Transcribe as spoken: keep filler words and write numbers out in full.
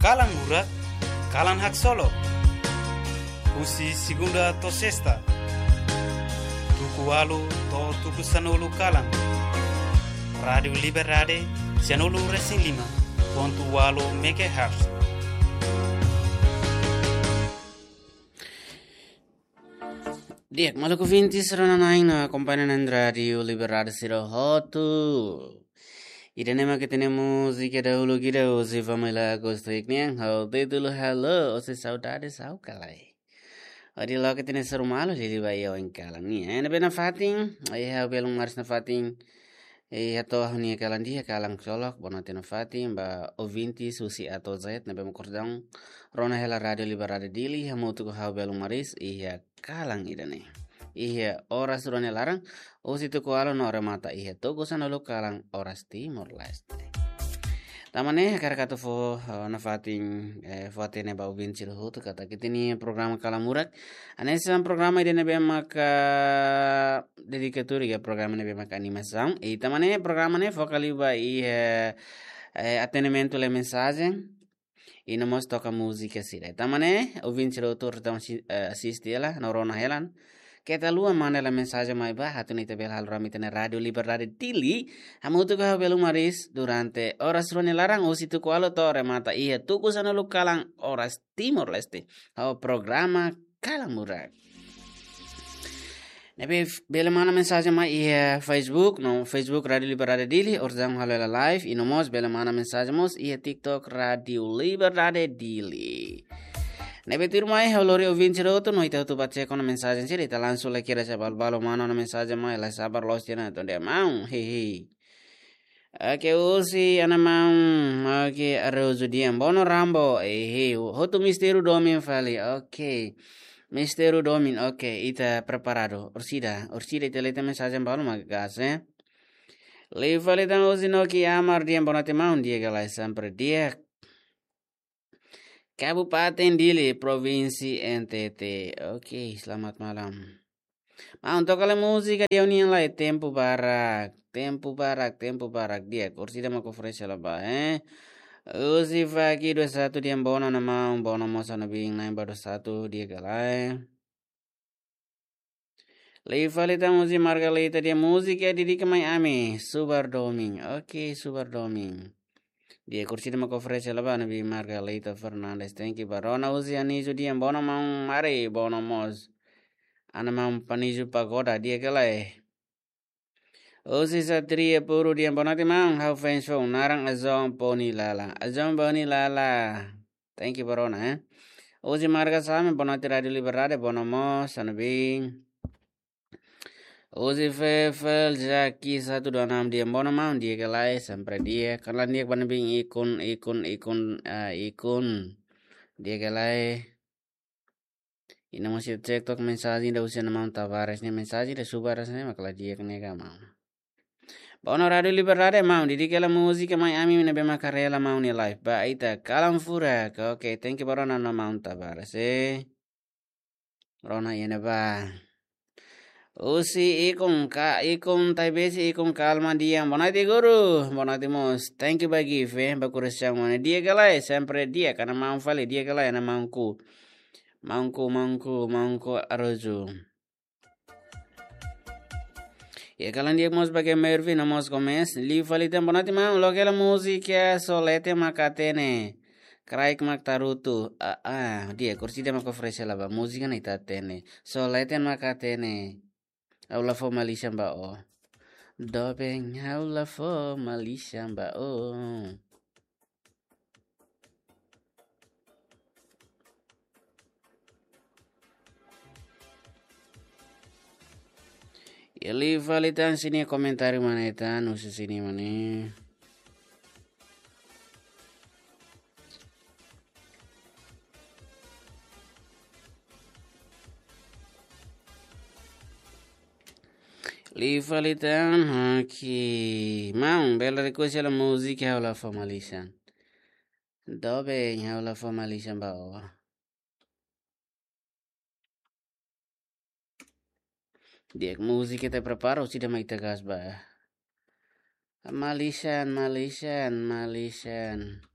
Kalan Murak, kalan haksolok. Husi segunda to'o sesta, tuku ualu to'o tuku sanulu kalan. Rádiu Liberdade, sanulu resin lima pontu ualu megahertz. Di'ak, maluk ouvintes rona-na'in no akompaña na'in Rádiu Liberdade sira hotu. Ida-ne'e mak ita-nia múzika dahuluk ida, husi família Akustik nian, ho títulu Halo, ou seja, Saudades Ha'u Ka Lae. Hodi loke ita-nia suru malu, liuliu ba iha oin kalan nian. Ne'ebé nafatin, iha belun maris nafatin, iha to'o ha'u-nia kalan di'ak, kalan haksolok, boa noite nafatin ba ouvintes husi A to'o Z, ne'ebé mak orsida rona hela Rádiu Liberdade Dili, hamutuk ho ha'u belun maris, iha kalan ida-ne'e. Iha oras rua nia laran, husi tuku ualu no remata iha tuku sanulu kalan oras Timor-Leste. Tanba ne'e, hakarak atu fó, eh, nafatin, eh, fó-hatene ba ouvinte sira hotu katak ita-nia programa Kalan Murak. Hanesan programa ida ne'ebé maka dedikadu iha programa ne'ebé maka animasaun. I tanba ne'e programa ne'e foka liu ba iha, eh, atendimentu lee mensajen. I no mós toka múzika sira. Tanba ne'e, ouvinte sira hotu atu si-, eh, asiste hela, no rona hela. Keta haluha manda hela mensajen mai ba, atu nune'e ita bele halo rame ita-nia Rádiu Liberdade Dili, hamutuk ho ha'u belun maris durante oras rua nia laran husi tuku ualu to'o remata iha tuku sanulu kalan oras Timor-Leste. Ho programa Kalan Murak. Ne'ebé f-, bele manda mensajen mai iha Facebook, no Facebook Rádiu Liberdade Dili, orsida halo hela live, i no mós bele manda mensajen mós iha TikTok Rádiu Liberdade Dili. Ne'ebé tuirmai ha'u lori ouvinte sira hotu, no ita hotu bá cek ona mensajen sira, ita langsung lai kedas iha balu-balu manda ona mensajen mai, la sabar loos tiha ona, tonde maun, hehe. Oke, husi Ana Maun, oke, Araújo Dian Bono Rambo, eh, eh, hotu mistériu domin fali, oke. Mistériu domin, oke, ita preparadu. Orsida, orsida ita lee ita-nia mensajen balu mak gas, eh. Liu fali tan husi Noki Amar Dian, boa noite maun, di'ak ka lae, sempre di'ak. Kabupaten Dili, Provinsi N T T. Oke, selamat malam. Maun, toka lai múzika ida-ne'e lai, Tempu Barak, Tempu Barak, Tempu Barak, di'ak, orsida mak oferese hela ba, eh. Husi Faki dua satu Dian Bono, Ana Maun, Bono mós Ana Biin, na'in ba dua satu, di'ak ka lae. Liu fali tan husi Margarita Dian, múzika dedika mai ami, Subar Domin. Oke, Subar Domin. Di'ak, orsida mak oferese hela ba Ana Biin, Margarita Fernandes, thank you ba rona. Husi Anísio Dian, boa noite maun, mari, boa noite mós. Ana Maun Panísio Pagoda, di'ak ka lae. Husi Satria Puru Dian, boa noite maun, ha'u fans foun, naran Azon Poni Lala. Azon Poni Lala. Thank you ba rona, eh. Husi Marga Same, boa noite Rádiu Liberdade, boa noite mós, Ana Biin. Husi Fefel Jaki satu dua enam Dian, boa noite maun, di'ak ka lae, sempre di'ak, kalan di'ak ba Ana Biin, ikun, ikun, ikun, ah, ikun. Di'ak ka lae. I no mós ita cek took mensajen ida husi Ana Maun Tavares nia, mensajen ida subar rasanya mak la di'ak ne'e ka maun. Ba ona Rádiu Liberdade maun, dedika hela múzika mai ami ne'ebé mak haree hela maun nia live. Ba ita Kalan Furak. Oke, thank you ba rona Ana Maun Tavares, eh. Rona iha ne'ebá. Husi ikun ka, ikun Taibesi, ikun Kalma Dian. Boa noite guru. Boa noite mós. Thank you ba gift, eh, ba kurasaun mane. Di'ak ka lae, sempre di'ak, Ana Maun fali, di'ak ka lae, Ana Maunku. Maunku, maunku, maunku Araújo. Iha kalan di'ak mós ba Mervin no mós Gomes. Liu fali tan, boa noite maun, loke hela múzika Só Leten Mak Hatene. Kraik mak tarutu. Ah, ah, di'ak, orsida mak oferese hela ba, múzika ne'e ita hatene. Só leten mak hatene. Ha'u la fó malisan ba ó. Doben, ha'u la fó malisan ba ó. Iha liu fali tan, sira-nia komentáriu mane tan, husi sira-nia mane. Liu fali tan, oke. Maun, bele request hela múzika Ha'u La Fó Malisan. Doben, Ha'u La Fó Malisan ba ó. Di'ak, múzika ita prepara, orsida mak ita gas ba. Malisan, malisan, malisan.